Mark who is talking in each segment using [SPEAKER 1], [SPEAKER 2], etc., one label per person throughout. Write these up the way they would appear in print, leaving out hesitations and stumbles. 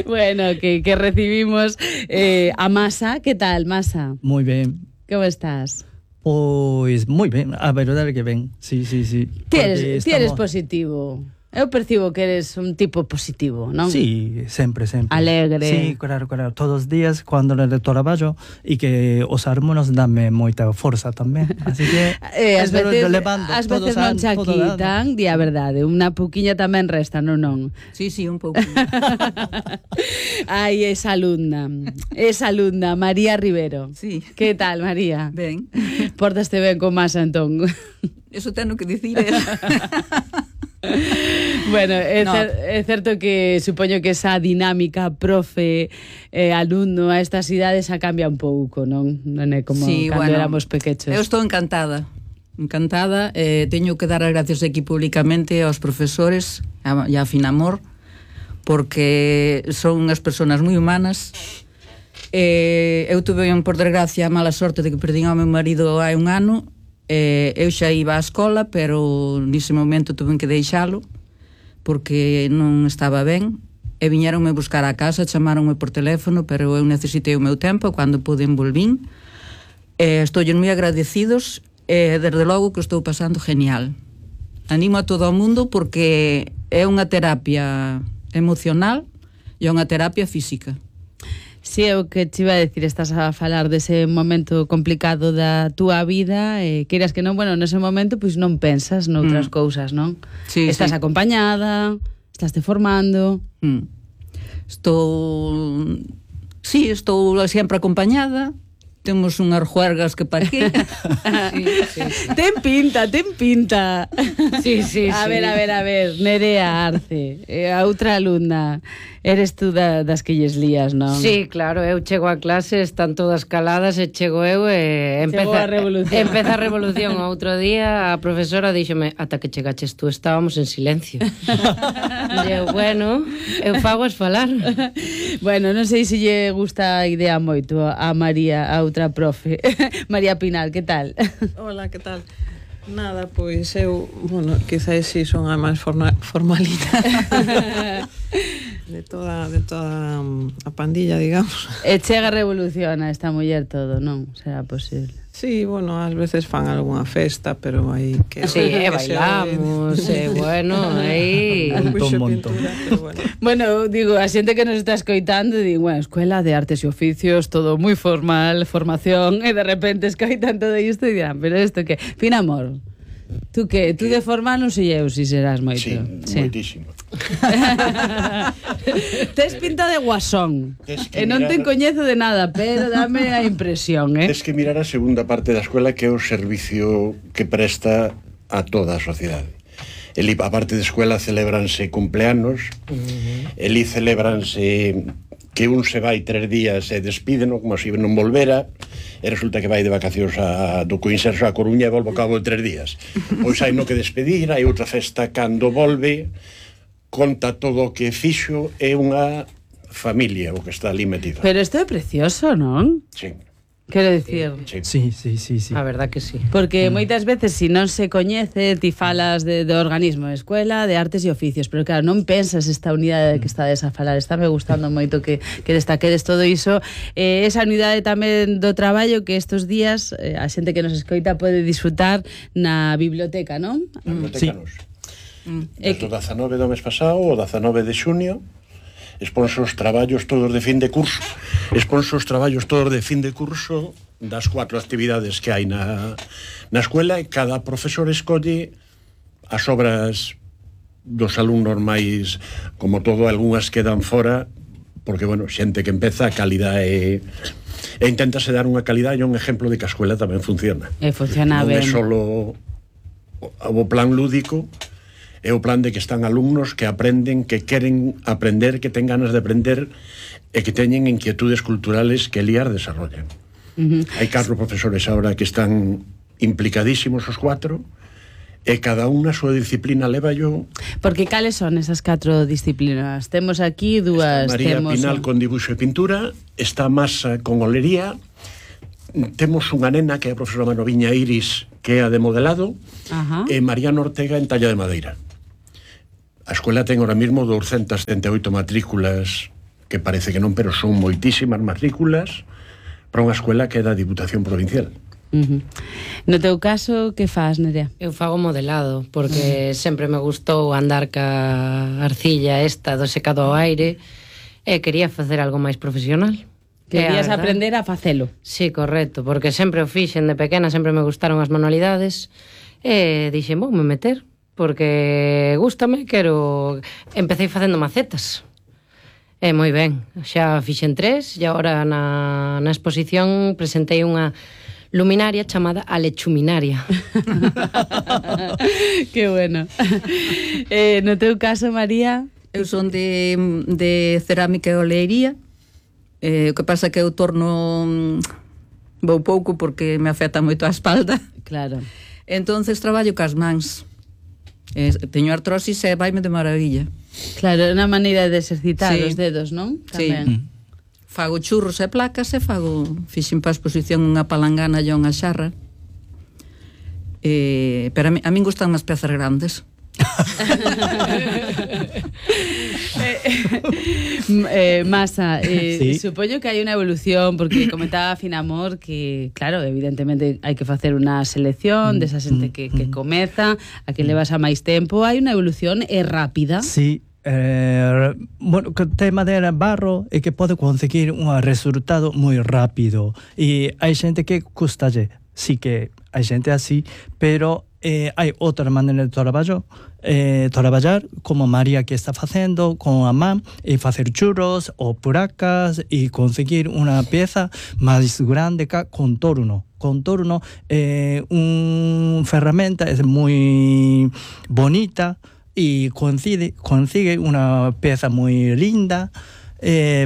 [SPEAKER 1] Bueno, que recibimos a Masa. ¿Qué tal, Masa?
[SPEAKER 2] Moi ben.
[SPEAKER 1] ¿Cómo estás?
[SPEAKER 2] Pois moi ben, a verdade que ben. Sí.
[SPEAKER 1] Ti eres positivo. Eu percibo que eres un tipo positivo, non?
[SPEAKER 2] Sí, sempre.
[SPEAKER 1] Alegre.
[SPEAKER 2] Sí, claro. Todos os días, cando le traballo, e que os hormonos danme moita forza tamén. Así que...
[SPEAKER 1] As veces non xa quitan, di a verdade. Unha pouquiña tamén resta, non?
[SPEAKER 3] Sí, un pouquiño.
[SPEAKER 1] Ai, esa alumna, María Rivero.
[SPEAKER 3] Sí.
[SPEAKER 1] Que tal, María?
[SPEAKER 3] Ben.
[SPEAKER 1] Portaste ben con Masa, entón?
[SPEAKER 3] Eso teno que dicir.
[SPEAKER 1] Bueno, é certo que supoño que esa dinámica profe-alumno a estas idades a cambia un pouco, non? Non é como cando éramos pequechos.
[SPEAKER 3] Eu estou encantada, teño que dar as gracias aquí públicamente aos profesores e a Finamor, porque son unhas persoas moi humanas. Eu tuve, por desgracia, a mala sorte de que perdín ao meu marido hai un ano. Eu xa iba á escola, pero nese momento tuve que deixalo porque non estaba ben, e viñeronme buscar a casa, chamaronme por teléfono, pero eu necesitei o meu tempo. Cando pude volvín. Estou moi agradecidos, e desde logo que estou pasando genial. Animo a todo o mundo porque é unha terapia emocional e unha terapia física.
[SPEAKER 1] Si, é o que te iba a decir, estás a falar dese momento complicado da túa vida, queiras que non, bueno, nese momento pois non pensas noutras cousas, non?
[SPEAKER 3] Sí,
[SPEAKER 1] estás acompañada, estás te formando.
[SPEAKER 3] Estou sempre acompañada. Temos unhas juergas que para qué. Sí.
[SPEAKER 1] Ten pinta.
[SPEAKER 3] Sí.
[SPEAKER 1] A ver, Nerea Arce, a outra alumna. Eres tú das que lles lías, non?
[SPEAKER 4] Sí, claro, eu chego a clase, están todas caladas e chego eu e empeza a revolución. Outro día a profesora díxome, ata que chegaches tú estábamos en silencio. E eu, bueno, eu fago es falar.
[SPEAKER 1] Bueno, non sei se lle gusta a idea moito a María, a outra profe. María Pinal, que tal?
[SPEAKER 5] Hola, que tal? Nada, pois eu, bueno, quizás si son a máis formalita de toda a pandilla, digamos.
[SPEAKER 1] E chega a revolución a esta muller todo, non? Será posible.
[SPEAKER 5] Sí, bueno, ás veces fan algunha festa, pero aí que...
[SPEAKER 4] Sí, bailamos, bueno, aí...
[SPEAKER 2] Un montón.
[SPEAKER 1] Bueno, digo, a xente que nos está escoitando, digo, bueno, escuela de artes e oficios, todo moi formal, formación, e de repente escoitan todo isto e dirán, pero isto que... Finamor, tú que? Tú de formal non sei eu si serás moito.
[SPEAKER 6] Sí, moitísimo.
[SPEAKER 1] Tes pinta de guasón e non te coñezo de nada, pero dame a impresión,
[SPEAKER 6] Tes que mirar a segunda parte da escuela, que é o servicio que presta a toda a sociedade. A parte de escuela celebranse cumpleanos, eli celebranse que un se vai 3 días e despídeno como se non volvera, e resulta que vai de vacacións do Coinserso a Coruña e volve ao cabo de 3 días. Pois hai no que despedir, hai outra festa cando volve, conta todo o que fixo, é unha familia o que está ali metido.
[SPEAKER 1] Pero isto é precioso, non?
[SPEAKER 6] Sí.
[SPEAKER 1] Quero dicir,
[SPEAKER 2] Sí.
[SPEAKER 4] A verdad que sí.
[SPEAKER 1] porque moitas veces se non se coñece, ti falas do organismo de escuela, de artes e oficios, pero claro, non pensas esta unidade que estades a falar. Está me gustando moito que destaquedes todo iso, esa unidade tamén do traballo que estes días a xente que nos escoita pode disfrutar na biblioteca, non?
[SPEAKER 6] Na biblioteca nos. Desde o 19 do mes pasado, o 19 de xunio, exponse os traballos todos de fin de curso. Das 4 actividades que hai na escuela, e cada profesor escolle as obras dos alumnos máis, como todo, algunhas quedan fora, porque, bueno, xente que empeza, a calidade e inténtase dar unha calidade e un exemplo de que a escuela tamén funciona.
[SPEAKER 1] E funciona ben.
[SPEAKER 6] Non é solo o plan lúdico, é o plan de que están alumnos que aprenden, que queren aprender, que ten ganas de aprender e que teñen inquietudes culturales que eliar desarrollan. Hai 4 profesores ahora que están implicadísimos os 4, e cada unha a súa disciplina leva yo.
[SPEAKER 1] Porque cales son esas 4 disciplinas? Temos aquí dúas.
[SPEAKER 6] Está María Pinal con dibuixo e pintura, está Masa con olería, temos unha nena que é a profesora Manoviña Iris, que é a de modelado, e Mariano Ortega en talla de madeira. A escola ten ahora mismo 278 matrículas, que parece que non, pero son moitísimas matrículas para unha escola que é da Diputación Provincial.
[SPEAKER 1] No teu caso, que faz, Nerea?
[SPEAKER 4] Eu fago modelado, porque sempre me gustou andar ca arcilla esta do secado ao aire e quería facer algo máis profesional.
[SPEAKER 1] Querías aprender a facelo.
[SPEAKER 4] Sí, correcto, porque sempre o fixen de pequena, sempre me gustaron as manualidades e dixen, vou me meter, porque gústame, quero... Empecé facendo macetas. E moi ben, xa fixen 3 e agora na exposición presentei unha luminaria chamada a lechuminaria.
[SPEAKER 1] Que bueno. No teu caso, María?
[SPEAKER 3] Eu son de cerámica e olería. O que pasa que eu torno vou pouco porque me afecta moito a espalda.
[SPEAKER 1] Claro.
[SPEAKER 3] Entonces traballo cas mans. Teño artrosis e vaime de maravilla.
[SPEAKER 1] Claro, é unha maneira de exercitar os dedos, non?
[SPEAKER 3] Tamén. Sí. Fago churros e placas e fixen para a exposición unha palangana e unha xarra. Pero a min gustan as pezas grandes.
[SPEAKER 1] Masa, supoño que hai unha evolución, porque comentaba Finamor que, claro, evidentemente hai que facer unha selección desa xente que comeza, a que levas a máis tempo. Hai unha evolución rápida.
[SPEAKER 2] Sí. Bueno, o tema de barro é que pode conseguir un resultado moi rápido e hai xente que custalle, sí que hai xente así, pero hai outra maneira de traballar como María que está facendo con a man e facer churros ou puracas e conseguir unha pieza máis grande que contorno. Contorno é unha ferramenta moi bonita e consigue unha pieza moi linda,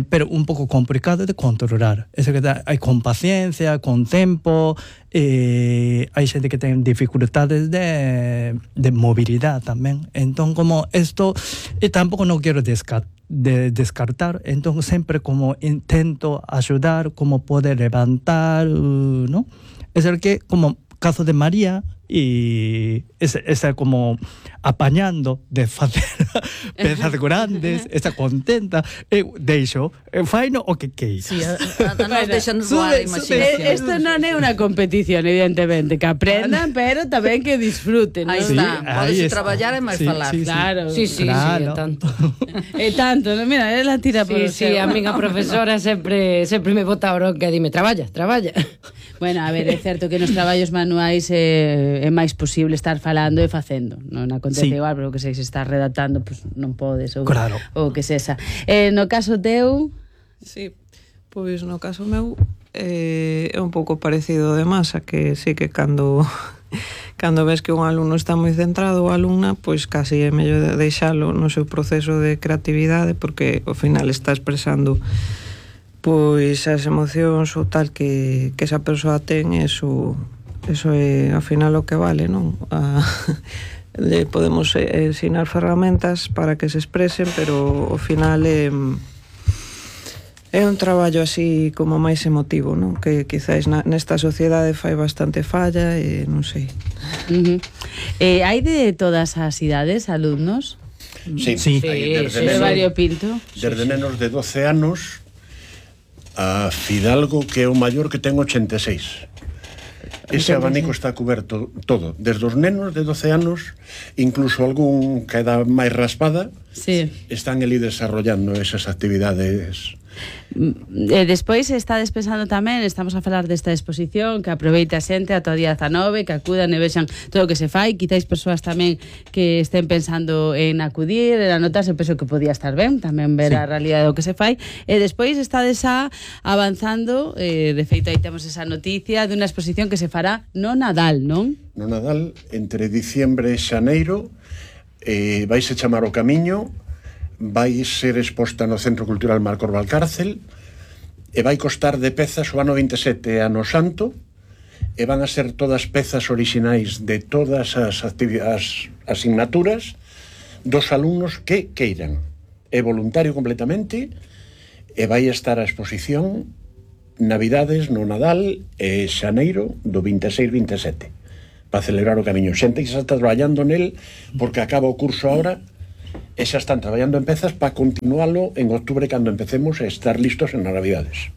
[SPEAKER 2] pero un pouco complicado de controlar. Eso que hai con paciencia, con tempo, hai xente que ten dificultades de mobilidade tamén. Entón, como isto, tampouco non quero descartar, entón sempre como intento axudar, como poder levantar, ¿no? Es el que, como caso de María, e está como apañando de facer pezas grandes, está contenta, deixo, faino o que queira.
[SPEAKER 3] Sí, nos deixan voar a imaginación.
[SPEAKER 1] Isto non é unha competición, evidentemente, que aprendan, pero tamén que disfruten, ¿no?
[SPEAKER 3] Aí está, podes traballar e máis falar.
[SPEAKER 1] Claro,
[SPEAKER 4] sí, claro.
[SPEAKER 1] Tanto. É tanto, ¿no? Mira, ela tira por o seu.
[SPEAKER 4] Sí, a minha profesora sempre me bota a bronca e dime, traballa.
[SPEAKER 1] Bueno, a ver, é certo que nos traballos manuais é máis posible estar falando e facendo. Non acontece igual, pero que se está redactando, pues non podes, ou,
[SPEAKER 2] claro,
[SPEAKER 1] ou que sexa. No caso teu...
[SPEAKER 5] Sí, pois no caso meu é un pouco parecido de Masa, que sí que cando ves que un alumno está moi centrado, ou alumna, pois casi é mellor deixalo no seu proceso de creatividade, porque ao final está expresando pois as emocións ou tal que esa persoa ten, eso é ao final o que vale, non? Le podemos ensinar ferramentas para que se expresen, pero ao final é un traballo así como máis emotivo, non? Que quizáis nesta sociedade fai bastante falla e non sei.
[SPEAKER 1] Hai de todas as idades alumnos?
[SPEAKER 6] Sí.
[SPEAKER 1] Desde variopinto.
[SPEAKER 6] Desde nenos de 12 anos a Fidalgo, que é o maior, que ten 86. Ese abanico está coberto todo, desde os nenos de 12 anos, incluso algún que dá máis raspada, están ali desarrollando esas actividades.
[SPEAKER 1] Despois estades pensando tamén, estamos a falar desta exposición, que aproveite a xente ata o día 19, que acudan e vexan todo o que se fai, quizáis persoas tamén que estén pensando en acudir, en anotarse, penso que podía estar ben tamén ver a realidade do que se fai, e despois estades avanzando, de feito aí temos esa noticia dunha exposición que se fará no Nadal, non?
[SPEAKER 6] No Nadal, entre diciembre e xaneiro, vais a chamar o Camiño, vai ser exposta no Centro Cultural Marcos Valcárcel e vai costar de pezas o ano 27 ano santo, e van a ser todas pezas orixinais de todas as asignaturas dos alumnos que queiran. É voluntario completamente e vai estar a exposición Navidades no Nadal e xaneiro do 26-27 para celebrar o Camiño. Xente que se está traballando nel porque acaba o curso ahora e xa están traballando en pezas para continualo en outubro cando empecemos a estar listos en Navidades.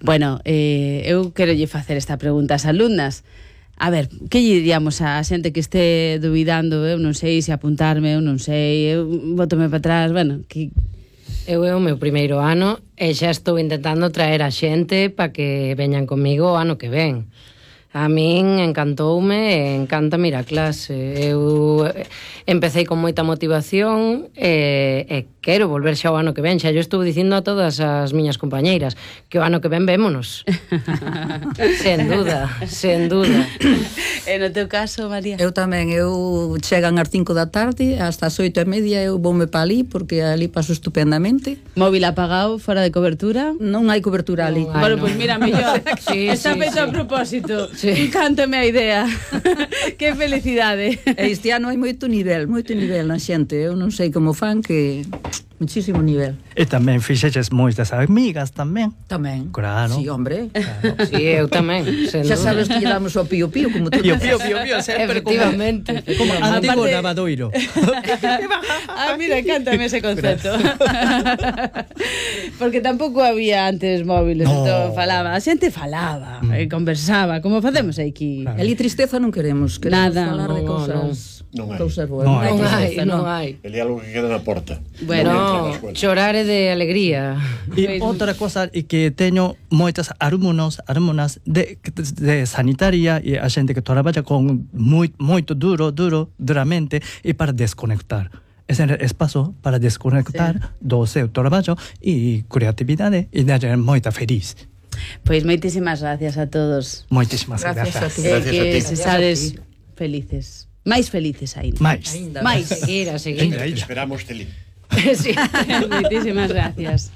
[SPEAKER 1] Bueno, eu quero lle facer esta pregunta ás alumnas. A ver, que lle diríamos a xente que este dubidando? Eu non sei se apuntarme, eu non sei, eu bótome para atrás, bueno, que...
[SPEAKER 4] Eu é o meu primeiro ano e xa estou intentando traer a xente para que veñan comigo o ano que ven. A min encantoume e encanta a clase. Eu empecé con moita motivación e quero volver xa o ano que ven. Xa eu estou dicindo a todas as miñas compañeiras que o ano que ven vémonos. Sen duda, sen duda.
[SPEAKER 1] E no teu caso, María?
[SPEAKER 3] Eu tamén, chegan ás 5 da tarde, hasta as 8:30 eu voume para ali, porque ali paso estupendamente.
[SPEAKER 1] Móvil apagado, fora de cobertura?
[SPEAKER 3] Non hai cobertura ali.
[SPEAKER 1] Bueno, pois mira, mellor.
[SPEAKER 4] Sí,
[SPEAKER 1] Está feito a propósito. Encántame a idea. Que felicidade.
[SPEAKER 3] E este ano hai moito nivel na xente. Eu non sei como fan, que muchísimo nivel.
[SPEAKER 2] E tamén fixeches moitas amigas tamén.
[SPEAKER 3] Tamén.
[SPEAKER 2] Claro.
[SPEAKER 3] Sí, hombre.
[SPEAKER 2] Claro.
[SPEAKER 4] Sí, eu tamén, sen
[SPEAKER 3] Xa
[SPEAKER 4] duda.
[SPEAKER 3] sabes que lle damos o pío, como tú.
[SPEAKER 2] Pío, sempre
[SPEAKER 4] Efectivamente.
[SPEAKER 2] como antigo
[SPEAKER 1] Aparte-
[SPEAKER 2] lavadoiro.
[SPEAKER 1] Mira, encántame ese concepto. Porque tampouco había antes móviles,
[SPEAKER 2] No.
[SPEAKER 1] entón falaba, a xente falaba, conversaba, como facemos aquí.
[SPEAKER 2] Claro.
[SPEAKER 3] Eli tristeza non queremos
[SPEAKER 1] Nada.
[SPEAKER 3] falar de
[SPEAKER 4] No,
[SPEAKER 3] cousas,
[SPEAKER 6] non hai.
[SPEAKER 3] cousas boas.
[SPEAKER 2] Non hai.
[SPEAKER 4] Non hai,
[SPEAKER 1] tristeza,
[SPEAKER 4] non
[SPEAKER 1] non.
[SPEAKER 4] hai.
[SPEAKER 6] El é algo que queda na porta.
[SPEAKER 1] Bueno,
[SPEAKER 6] Non entra na
[SPEAKER 4] No,
[SPEAKER 6] escuela.
[SPEAKER 4] chorar é de alegría.
[SPEAKER 2] E outra cosa é que teño moitas alumnas de sanitaria e a xente que traballa con moito duramente e para desconectar. Ese é espazo para desconectar do seu traballo e creatividade e dar moita feliz.
[SPEAKER 1] Pois moitísimas gracias a todos.
[SPEAKER 2] Moitísimas
[SPEAKER 3] Gracias a
[SPEAKER 2] grazas.
[SPEAKER 3] ti.
[SPEAKER 6] Gracias a
[SPEAKER 1] Que
[SPEAKER 6] ti.
[SPEAKER 1] se sades felices. Máis felices aínda.
[SPEAKER 2] Mais.
[SPEAKER 1] Máis.
[SPEAKER 4] A seguir.
[SPEAKER 6] Esperamos Teli.
[SPEAKER 1] Sí. Moitísimas gracias.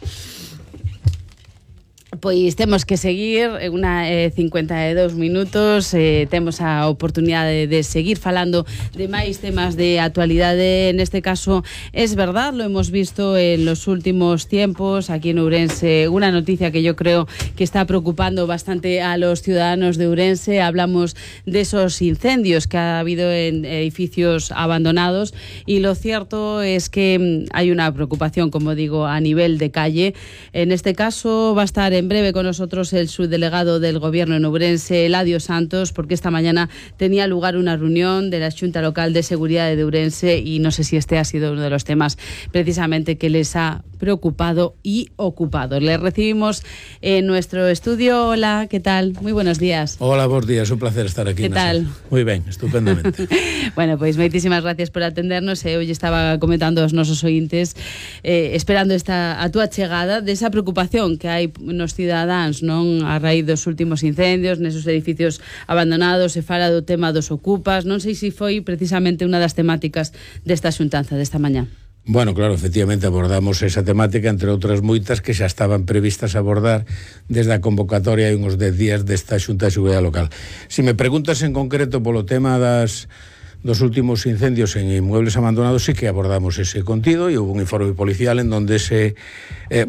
[SPEAKER 1] Pois temos que seguir unha 52 minutos, temos a oportunidade de seguir falando de máis temas de actualidade. Neste caso, es verdad, lo hemos visto en los últimos tiempos aquí en Ourense, una noticia que yo creo que está preocupando bastante a los ciudadanos de Ourense. Hablamos de esos incendios que ha habido en edificios abandonados y lo cierto es que hay una preocupación, como digo, a nivel de calle. En este caso va a estar en breve con nosotros el subdelegado del Gobierno en Ourense, Eladio Santos, porque esta mañana tenía lugar una reunión de la Xunta Local de Seguridad de Ourense y no sé si este ha sido uno de los temas precisamente que les ha preocupado y ocupado. Les recibimos en nuestro estudio. Hola, ¿qué tal? Muy buenos días.
[SPEAKER 7] Hola, buenos días, un placer estar aquí.
[SPEAKER 1] ¿Qué tal?
[SPEAKER 7] Muy ben, estupendamente.
[SPEAKER 1] Bueno, pois moitísimas gracias por atendernos. Hoy estaba comentando aos nosos ointes esperando a túa chegada desa preocupación que hai nos cidadáns, non, a raíz dos últimos incendios nesos edificios abandonados. Se fala do tema dos ocupas. Non sei se foi precisamente unha das temáticas desta xuntanza desta mañá.
[SPEAKER 7] Bueno, claro, efectivamente abordamos esa temática, entre outras moitas que xa estaban previstas abordar desde a convocatoria hai uns 10 días desta Xunta de Seguridade Local. Si me preguntas en concreto polo tema dos últimos incendios en inmuebles abandonados, sí que abordamos ese contido e houve un informe policial en donde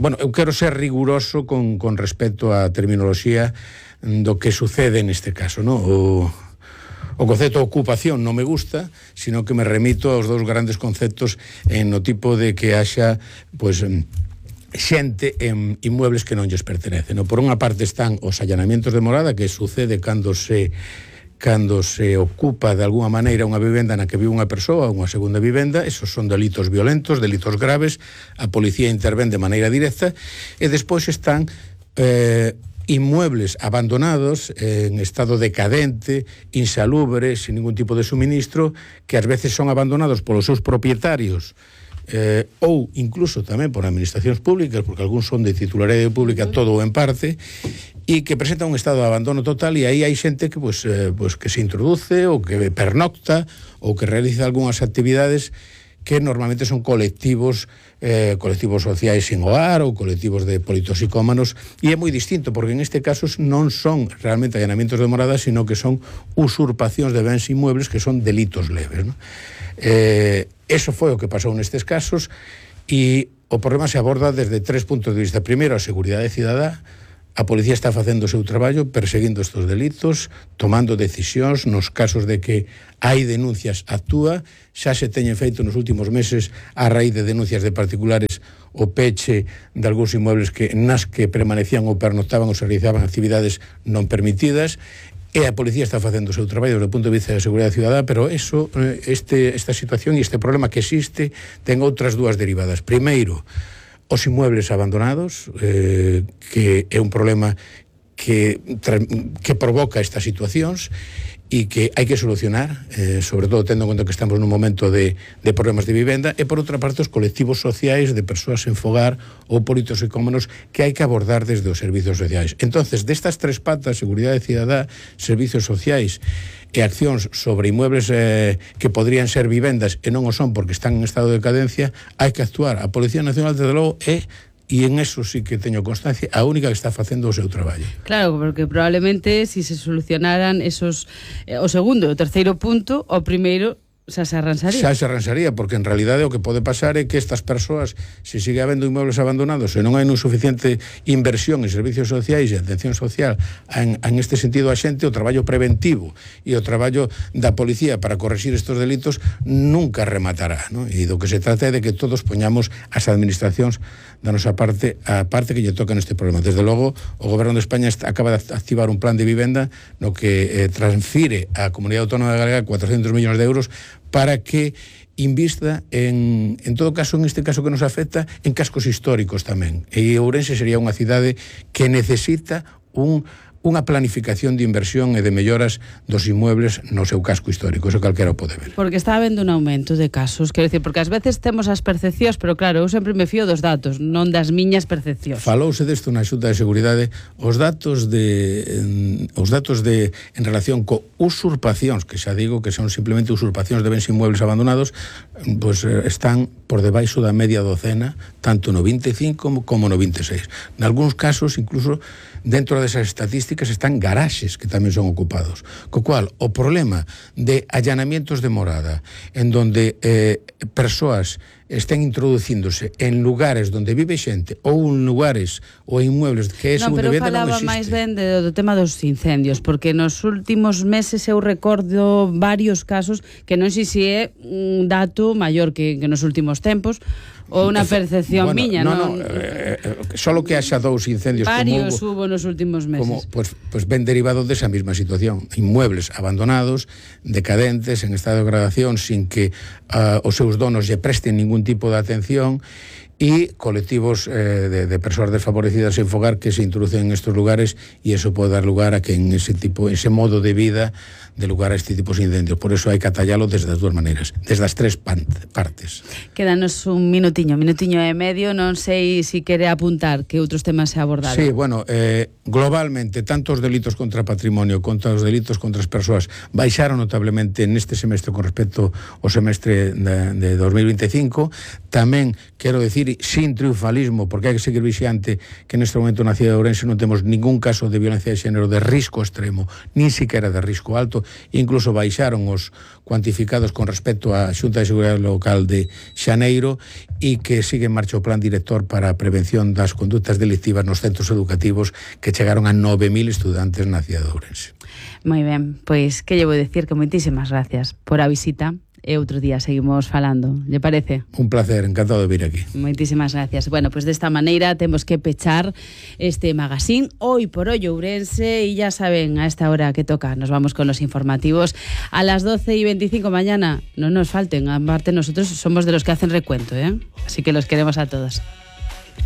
[SPEAKER 7] bueno, eu quero ser riguroso con respecto á terminoloxía do que sucede neste caso, non? O concepto ocupación non me gusta, sino que me remito aos dous grandes conceptos no tipo de que haxa, pois, xente en inmuebles que non lles pertenecen. Por unha parte están os allanamientos de morada, que sucede cando se ocupa de alguna maneira unha vivenda na que vive unha persoa, unha segunda vivenda. Esos son delitos violentos, delitos graves, a policía intervén de maneira directa, e despois están inmuebles abandonados en estado decadente, insalubre, sin ningún tipo de suministro, que ás veces son abandonados polos seus propietarios ou incluso tamén por administracións públicas, porque algúns son de titularidade pública todo ou en parte, e que presentan un estado de abandono total, e aí hai xente que que se introduce ou que pernocta ou que realiza algunhas actividades que normalmente son colectivos sociais sin hogar ou colectivos de politoxicómanos, e é moi distinto, porque en este caso non son realmente allanamientos de morada, sino que son usurpacións de bens inmuebles, que son delitos leves, ¿no? Eso foi o que pasou nestes casos, e o problema se aborda desde 3 puntos de vista. Primeiro, a seguridade cidadá, A policía está facendo o seu traballo, perseguindo estes delitos, tomando decisións, nos casos de que hai denuncias actúa, xa se teñen feito nos últimos meses a raíz de denuncias de particulares o peche de algúns inmuebles nas que permanecían ou pernoctaban ou se realizaban actividades non permitidas, e a policía está facendo o seu traballo desde o punto de vista da seguridade cidadá, pero esta situación e este problema que existe ten outras dúas derivadas. Primeiro, os inmuebles abandonados, que é un problema que provoca estas situacións e que hai que solucionar, sobre todo tendo en conta que estamos nun momento de problemas de vivenda, e por outra parte os colectivos sociais de persoas en fogar ou politoxicómanos que hai que abordar desde os servizos sociais. Entonces, destas tres patas, seguridade cidadá, servizos sociais e accións sobre inmuebles que podrían ser vivendas e non o son porque están en estado de decadencia, hai que actuar. A Policía Nacional, desde logo, e en eso sí que teño constancia, a única que está facendo o seu traballo.
[SPEAKER 1] Claro, porque probablemente si se solucionaran esos o segundo e o terceiro punto, o primeiro xa se arranxaría.
[SPEAKER 7] Xa se arranxaría, porque en realidade o que pode pasar é que estas persoas, se sigue habendo inmuebles abandonados e non hai unha suficiente inversión en servicios sociais e atención social en este sentido a xente, o traballo preventivo e o traballo da policía para corregir estes delitos nunca rematará, non? E do que se trata é de que todos poñamos as administracións da nosa parte, a parte que lle toca neste problema. Desde logo, o Goberno de España acaba de activar un plan de vivenda no que transfire á Comunidade Autónoma de Galega 400 millóns de euros para que invista en todo caso, en este caso que nos afecta, en cascos históricos tamén. E Ourense sería unha cidade que necesita unha planificación de inversión e de melloras dos inmuebles no seu casco histórico, eso calquera o pode ver.
[SPEAKER 1] Porque está habendo un aumento de casos, quero dicir, porque ás veces temos as percepcións, pero claro, eu sempre me fío dos datos, non das miñas percepcións.
[SPEAKER 7] Falouse desto na Xunta de Seguridade, os datos en relación co usurpacións, que xa digo que son simplemente usurpacións de bens inmuebles abandonados, pois están por debaixo da media docena, tanto no 25 como no 26. Nalgúns casos, incluso, dentro desas estatísticas están garaxes que tamén son ocupados. Co cual, o problema de allanamientos de morada, en donde persoas estén introducíndose en lugares donde vive xente ou en lugares ou en inmuebles que é segunda vivenda non existe.
[SPEAKER 1] Non, pero falaba máis ben do tema dos incendios, porque nos últimos meses eu recordo varios casos que non sei se é un dato maior que nos últimos tempos, ou unha percepción miña, non?
[SPEAKER 7] Solo que haxa dous incendios
[SPEAKER 1] varios hubo nos últimos meses.
[SPEAKER 7] Pues ben derivado desa mesma situación. Inmuebles abandonados, decadentes, en estado de degradación, sin que os seus donos lle presten ningún tipo de atención, e colectivos de persoas desfavorecidas en fogar que se introducen en estos lugares, e eso pode dar lugar a que en ese modo de vida de lugar a este tipo de incendios. Por eso hai que atallalo desde as dúas maneiras, desde as tres partes.
[SPEAKER 1] Quédanos un minutiño e medio, non sei se quere apuntar que outros temas se abordaron.
[SPEAKER 7] Sí, bueno, globalmente, tanto os delitos contra patrimonio contra os delitos contra as persoas baixaron notablemente neste semestre con respecto ao semestre de 2025. Tamén, quero decir, sin triunfalismo, porque hai que seguir vixiante que neste momento na cidade de Ourense non temos ningún caso de violencia de xénero de risco extremo, nin siquiera de risco alto. Incluso baixaron os cuantificados con respecto á Xunta de Seguridade Local de xaneiro, e que sigue en marcha o plan director para a prevención das conductas delictivas nos centros educativos, que chegaron a 9.000 estudantes na cidade de Ourense.
[SPEAKER 1] Moi ben, pois que lle vou dicir que moitísimas gracias por a visita. E outro día seguimos falando, lle parece?
[SPEAKER 7] Un placer, encantado de vir aquí.
[SPEAKER 1] Moitísimas gracias. Bueno, pues desta maneira temos que pechar este magazín Hoy por Hoy Ourense, e ya saben, a esta hora que toca, nos vamos con los informativos a las 12:25 mañana. No nos falten, aparte nosotros somos de los que hacen recuento, así que los queremos a todos.